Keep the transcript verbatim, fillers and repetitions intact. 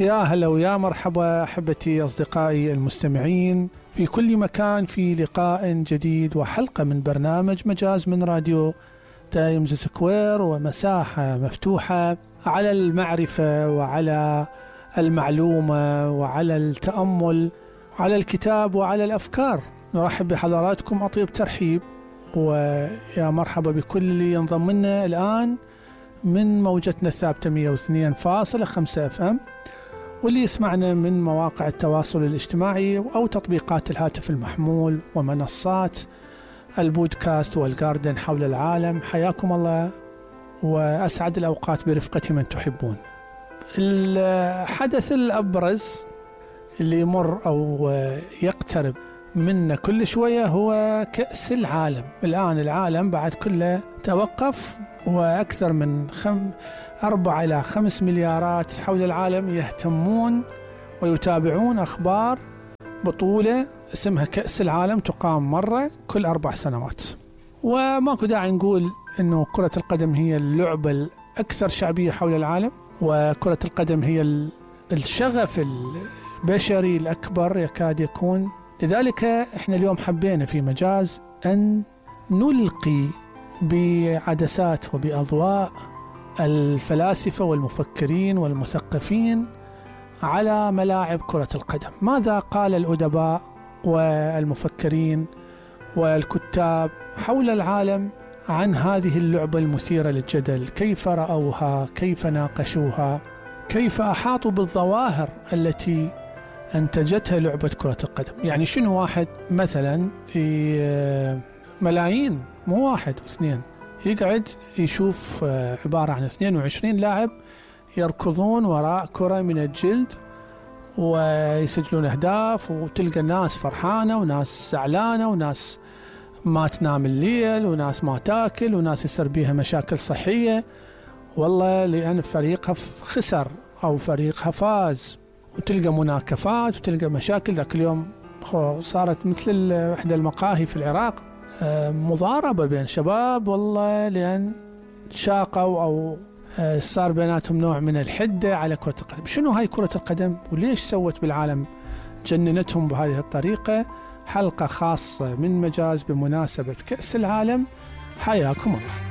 يا هلا ويا مرحبا أحبتي أصدقائي المستمعين في كل مكان، في لقاء جديد وحلقة من برنامج مجاز من راديو تايمز سكوير، ومساحة مفتوحة على المعرفة وعلى المعلومة وعلى التأمل وعلى الكتاب وعلى الأفكار. نرحب بحضراتكم أطيب ترحيب، ويا مرحبا بكل اللي ينضم لنا الآن من موجتنا الثابتة مئة واثنين فاصلة خمسة اف ام، واللي يسمعنا من مواقع التواصل الاجتماعي أو تطبيقات الهاتف المحمول ومنصات البودكاست والجاردن حول العالم. حياكم الله وأسعد الأوقات برفقة من تحبون. الحدث الأبرز اللي يمر أو يقترب منا كل شوية هو كأس العالم. الآن العالم بعد كله توقف، وأكثر من خم أربعة إلى خمس مليارات حول العالم يهتمون ويتابعون أخبار بطولة اسمها كأس العالم، تقام مرة كل أربع سنوات. وماكو داعي نقول إنه كرة القدم هي اللعبة الأكثر شعبية حول العالم، وكرة القدم هي الشغف البشري الأكبر يكاد يكون. لذلك إحنا اليوم حبينا في مجاز أن نلقي بعدسات وبأضواء الفلاسفة والمفكرين والمثقفين على ملاعب كرة القدم. ماذا قال الأدباء والمفكرين والكتاب حول العالم عن هذه اللعبة المثيرة للجدل؟ كيف رأوها؟ كيف ناقشوها؟ كيف أحاطوا بالظواهر التي أنتجتها لعبة كرة القدم؟ يعني شنو واحد مثلا ملايين، مو واحد واثنين، يقعد يشوف عبارة عن اثنين وعشرين لاعب يركضون وراء كرة من الجلد ويسجلون أهداف، وتلقى الناس فرحانة وناس زعلانة وناس ما تنام الليل وناس ما تاكل وناس يصير بيها مشاكل صحية، والله لأن فريقها خسر أو فريقها فاز، وتلقى مناكفات وتلقى مشاكل. ذاك اليوم صارت مثل إحدى المقاهي في العراق مضاربة بين شباب، والله لأن شاقوا أو صار بيناتهم نوع من الحدة على كرة القدم. شنو هاي كرة القدم وليش سوت بالعالم جننتهم بهذه الطريقة؟ حلقة خاصة من مجاز بمناسبة كأس العالم. حياكم الله.